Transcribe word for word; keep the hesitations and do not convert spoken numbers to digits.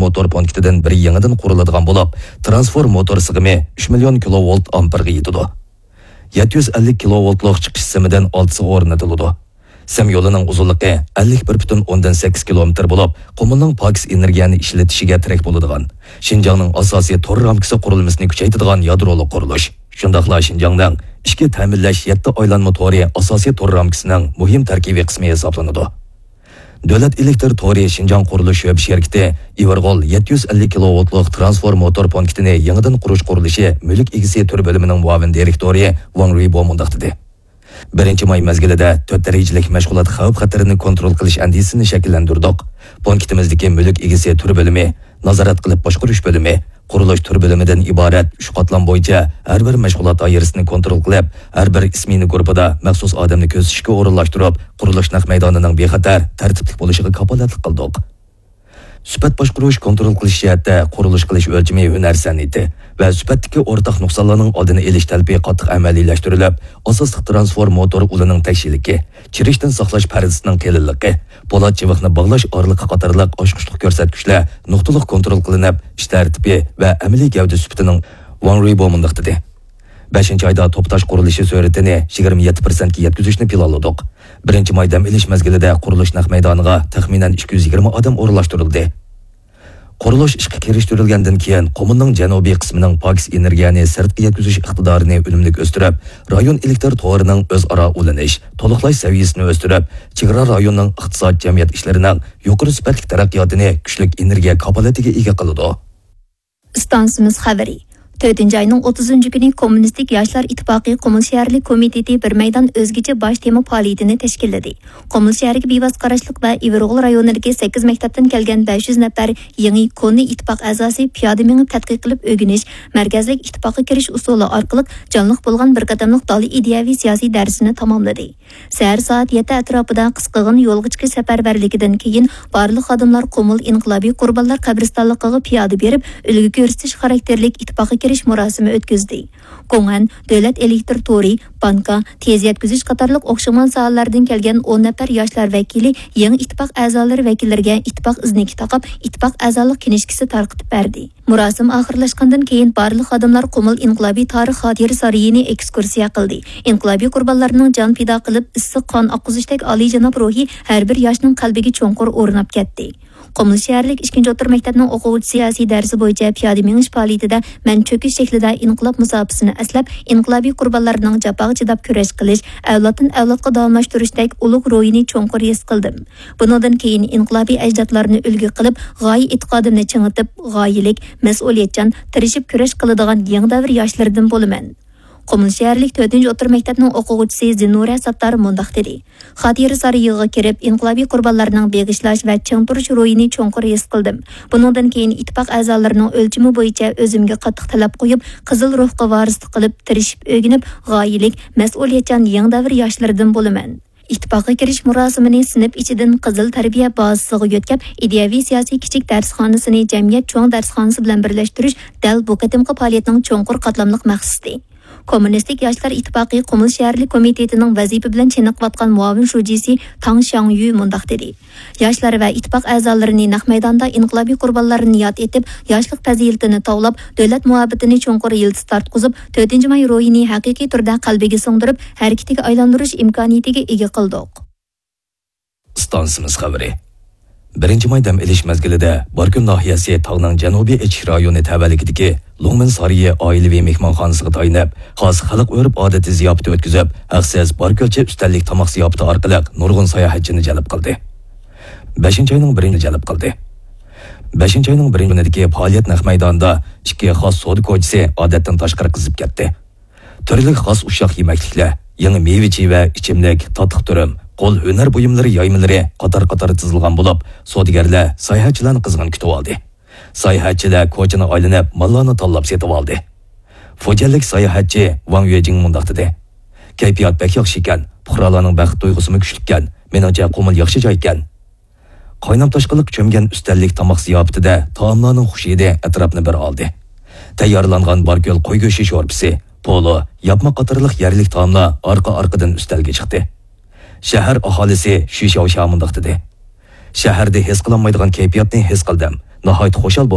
موتور پونكىتىدىن بىرى يېڭىدىن قۇرۇلىدىغان بولۇپ، ترانسفورماتور سىغىمى ئۈچ مىليون كىلوۋولت ئامپېرغا يېتىدۇ. يەتتە يۈز ئەللىك كىلوۋولتلۇق چىقىش سىمىدىن ئالتىسى ئورنىتىلىدۇ. سىم يولىنىڭ ئۇزۇنلۇقى ئەللىك بىر پۈتۈن ئوندىن سەككىز كىلومېتىر بولۇپ، قۇمۇلنىڭ پاكىز ئېنېرگىيەنى ئىشلىتىشىگە تىرەك بولىدىغان، شىنجاڭنىڭ ئاساسىي تور رامكىسى قۇرۇلمىسىنى كۈچەيتىدىغان يادرولۇق قۇرۇلۇش، شۇنداقلا شىنجاڭنىڭ ئىچكى تەمىنلەش يەتتە ئايلانما تورى ئاساسىي تور رامكىسىنىڭ مۇھىم تەركىبىي قىسمى ھېسابلىنىدۇ. دۆلەت ئېلېكتر تورى شىنجاڭ قۇرۇلۇش شۆبە شىركىتى ئىۋىرغول يەتتە يۈز ئەللىك كىلوۋولتلۇق ترانسفورماتور پونكىتىنى يېڭىدىن قۇرۇش قۇرۇلۇشى مۈلۈك ئىگىسى تۈر بۆلۈمىنىڭ مۇئاۋىن دىرېكتورى ۋاڭ رۇيبو مۇنداق دېدى: بىرىنچى ماي مەزگىلىدە تۆت دەرىجىلىك مەشغۇلات خەۋپ خەتىرىنى كونترول قىلىش ئەندىزىسىنى شەكىللەندۈردۇق. پونكىتىمىزدىكى مۈلۈك ئىگىسى تۈر بۆلۈمى، نازارەت قىلىپ باشقۇرۇش بۆلۈمى، قۇرۇلۇش تۈر بۆلۈمىدىن ئىبارەت ئۈچ قاتلام بويىچە ھەر بىر مەشغۇلات دائىرىسىنى كونترول قىلىپ، ھەر بىر ئىسمېنا گۇرۇپپىدا مەخسۇس ئادەمنى كۆزىتىشكە ئورۇنلاشتۇرۇپ، قۇرۇلۇش نەق مەيدانىنىڭ بىخەتەر، تەرتىپلىك بولۇشىغا كاپالەتلىك قىلدۇق. سۈپەت باشقۇرۇش، كونترول قىلىش جەھەتتە قۇرۇلۇش قىلىش ئۆلچىمى ھۈنەر سەنئىتى ۋە سۈپەتتىكى ئورتاق نۇقسانلارنىڭ ئالدىنى ئېلىش تەلىپى قاتتىق ئەمەلىيلەشتۈرۈلۈپ، ئاساسلىق ترانسفورماتور ئۇلىنىڭ تەكشىلىكى، چىرىشتىن ساقلاش پەردىسىنىڭ قېلىنلىقى، پولات چىۋىقنى باغلاش ئارىلىقى قاتارلىق ئاچقۇچلۇق كۆرسەتكۈچلەر نۇقتىلىق كونترول قىلىنىپ، ئىش تەرتىپى ۋە ئەمەلىي گەۋدە سۈپىتىنىڭ. ۋاڭ رۇيبو مۇنداق دېدى: بەشىنچى ئايدا توپا تاش قۇرۇلۇشى سۈرئىتىنى يىگىرمە يەتتە پىرسەنتكە يەتكۈزۈشنى پىلانلىدۇق. بىرىنچى ماي دەم ئېلىش مەزگىلىدە قۇرۇلۇش نەق مەيدانىغا تەخمىنەن ئىككى يۈز يىگىرمە ئادەم ئورۇنلاشتۇرۇلدى. قۇرۇلۇش ئىشقا كىرىشتۈرۈلگەندىن كېيىن، قۇمۇلنىڭ جەنۇبىي قىسمىنىڭ پاكىز ئېنېرگىيەنى سىرتقا يەتكۈزۈش ئىقتىدارىنى ئۈنۈملۈك ئۆستۈرۈپ، رايون ئېلېكتر تورىنىڭ ئۆزئارا ئۇلىنىش، تولۇقلاش سەۋىيەسىنى ئۆستۈرۈپ، چېگرا رايوننىڭ ئىقتىساد، جەمئىيەت ئىشلىرىنىڭ يۇقىرى سۈپەتلىك تەرەققىياتىنى كۈچلۈك ئېنېرگىيە كاپالىتىگە ئىگە قىلىدۇ. ئىستانسىمىز خەۋىرى. تۆتىنچى ئاينىڭ ئوتتۇزىنچى كۈنى كوممۇنىستىك ياشلار ئىتتىپاقى قۇمۇل شەھەرلىك كومىتېتى بىر مەيدان ئۆزگىچە باش تېما پائالىيىتىنى تەشكىللىدى. قۇمۇل شەھىرىگە بىۋاسىتە قاراشلىق ۋە ئىۋىرغول رايونىدىكى سەككىز مەكتەپتىن كەلگەن بەش يۈز نەپەر يېڭى، كونا ئىتتىپاق ئەزاسى پىيادە مېڭىپ تەتقىق قىلىپ ئۆگىنىش مەركەزلىك ئىتتىپاققا كىرىش ئۇسۇلى ئارقىلىق جانلىق بولغان بىر قېتىملىق دالىي ئىدىيەۋى سىياسىي دەرسىنى تاماملىدى. سەھەر سائەت يەتتە ئەتراپىدا قىسقىغىنە يولغا چىقىش سەپەرۋەرلىكىدىن كېيىن، بارلىق خادىملار قۇمۇل ئىنقىلابىي قۇربانلار قەبرىستانلىقىغا پىيادە بېرىپ، ئۈلگە كۆرسىتىش خاراكتېرلىك ئىتتىپاققا كىرىش مۇراسىمى ئۆتكۈزدى. گوڭئەن، دۆلەت ئېلېكتر تورى، بانكا، تېز يەتكۈزۈش قاتارلىق ئوخشىمىغان ساھەلەردىن كەلگەن ئون نەپەر ياشلار ۋەكىلى يېڭى ئىتتىپاق ئەزالىرى ۋەكىللىرىگە ئىتتىپاق ئىزنىكى تاقاپ، ئىتتىپاق ئەزالىق كىنىشكىسى تارقىتىپ بەردى. مۇراسىم ئاخىرلاشقاندىن كېيىن، بارلىق خادىملار قۇمۇل ئىنقىلابىي تارىخ خاتىرە سارىيىنى ئېكسكۇرسىيە قىلدى. ئىنقىلابىي قۇربانلارنىڭ جان پىدا قىلىپ، ئىسسىق قان ئاققۇزۇشتەك ئالىيجاناب روھى ھەر بىر ياشنىڭ قەلبىگە چوڭقۇر ئورناپ كەتتى. قۇمۇل شەھەرلىك ئىككىنچى ئوتتۇرا مەكتەپنىڭ ئوقۇغۇچىسى سىياسىي دەرسى بويىچە پىيادە مېڭىش پائالىيىتىدە مەن چۆكۈش شەكلىدە ئىنقىلاب مۇساپىسىنى ئەسلەپ، ئىنقىلابىي قۇربانلارنىڭ جاپاغا چىداپ كۈرەش قىلىش، ئەۋلادتىن ئەۋلادقا داۋاملاشتۇرۇشتەك ئۇلۇغ روھىنى چوڭقۇر ھېس قىلدىم. بۇنىڭدىن كېيىن ئىنقىلابىي ئەجدادلارنى ئۈلگە قىلىپ، غايە ئېتىقادىمنى چىڭىتىپ، غايىلىك، مەسئۇلىيەتچان، تىرىشىپ كۈرەش قىلىدىغان يېڭى دەۋر ياشلىرىدىن بولىمەن. قۇمۇل شەھەرلىك تۆتىنچى ئوتتۇرا مەكتەپنىڭ ئوقۇغۇچىسى زىننۇرە ساتتار مۇنداق دېدى: خاتىرە سارىيىغا كىرىپ، ئىنقىلابىي قۇربانلارنىڭ بېغىشلاش ۋە چىڭ تۇرۇش روھىنى چوڭقۇر ھېس قىلدىم. بۇنىڭدىن كېيىن ئىتتىپاق ئەزالىرىنىڭ ئۆلچىمى بويىچە ئۆزۈمگە قاتتىق تەلەپ قويۇپ، قىزىل روھقا ۋارىسلىق قىلىپ، تىرىشىپ ئۆگىنىپ، غايىلىك، مەسئۇلىيەتچان يېڭى دەۋر ياشلىرىدىن بولىمەن. ئىتتىپاققا كىرىش مۇراسىمىنى سىنىپ ئىچىدىن قىزىل تەربىيە بازىسىغا يۆتكەپ، ئىدىيەۋى سىياسىي كىچىك دەرسخانىسىنى جەمئىيەت چوڭ دەرسخانىسى بىلەن بىرلەشتۈرۈش دەل بۇ قېتىمقى پائالىيەتنىڭ چوڭقۇر قاتلاملىق مەقسىتى. كوممۇنىستىك ياشلار ئىتتىپاقى قۇمۇل شەھەرلىك كومىتېتىنىڭ ۋەزىپە بىلەن چېنىقىۋاتقان مۇئاۋىن شۇجىسى تاڭ شياڭيۈ مۇنداق دېدى: ياشلار ۋە ئىتتىپاق ئەزالىرىنى نەق مەيداندا ئىنقىلابىي قۇربانلارنى ياد ئېتىپ، ياشلىق پەزىلىتىنى تاۋلاپ، دۆلەت مۇھەببىتىنى چوڭقۇر يىلتىز تارتقۇزۇپ، تۆتىنچى ماي روھىنى ھەقىقىي تۈردە قەلبىگە سىڭدۈرۈپ، ھەرىكىتىگە ئايلاندۇرۇش ئىمكانىيىتىگە ئىگە قىلدۇق. ئىستانسىمىز خەۋىرى. بىرىنچى ماي دەم ئېلىش مەزگىلىدە باركۆل ناھىيەسى تاغنىڭ جەنۇبىي ئېچىش رايونى تەۋەلىكىدىكى لۇڭمىن سارىيى ئائىلىۋى مېھمانخانىسىغا تايىنىپ، خاس خەلق ئۆرپ-ئادىتى زىياپىتى ئۆتكۈزۈپ، ھەقسىز باركۆلچە ئۈستەللىك تاماق زىياپىتى ئارقىلىق نۇرغۇن ساياھەتچىنى جەلپ قىلدى. بەشىنچى ئاينىڭ بىرىنچى جەلپ قىلدى. بەشىنچى ئاينىڭ بىرىنچى كۈنىدىكى پائالىيەت نەق مەيدانىدا ئىككى خاس سودا كوچىسى ئادەتتىن تاشقىرى قىزىپ كەتتى. تۈرلۈك خاس ئۇششاق يېمەكلىكلەر، يېڭى مېۋە-چېۋە، ئىچىملىك، تاتلىق تۈرۈم، قول ھۈنەر بۇيۇملىرى يايمىلىرى قاتار-قاتار تىزىلغان بولۇپ، سودىگەرلەر ساياھەتچىلەرنى قىزغىن كۈتۈۋالدى. ساياھەتچىلەر كوچىنى ئايلىنىپ، ماللارنى تاللاپ سېتىۋالدى. فۇجيەنلىك ساياھەتچى ۋاڭ يۈجىڭ مۇنداق دېدى: كەيپىيات بەك ياخشى ئىكەن، پۇقرالارنىڭ بەخت تۇيغۇسىمۇ كۈچلۈككەن، مېنىڭچە قۇمۇل ياخشى جايكەن. قاينام تاشقىنلىق چۆمگەن ئۈستەللىك تاماق زىياپىتىدە تائاملارنىڭ خۇش ھىدى ئەتراپنى بىر ئالدى. تەييارلانغان باركۆل قوي گۆشى شورپىسى، پولۇ، ياپما قاتارلىق يەرلىك تائاملار ئارقا-ئارقىدىن ئۈستەلگە چىقتى. شەھەر ئاھالىسى شۈ شياۋشيا مۇنداق دېدى: شەھەردە ھېس قىلالمايدىغان كەيپىياتنى ھېس قىلدىم. ناھايىتى خۇشال بولدۇم.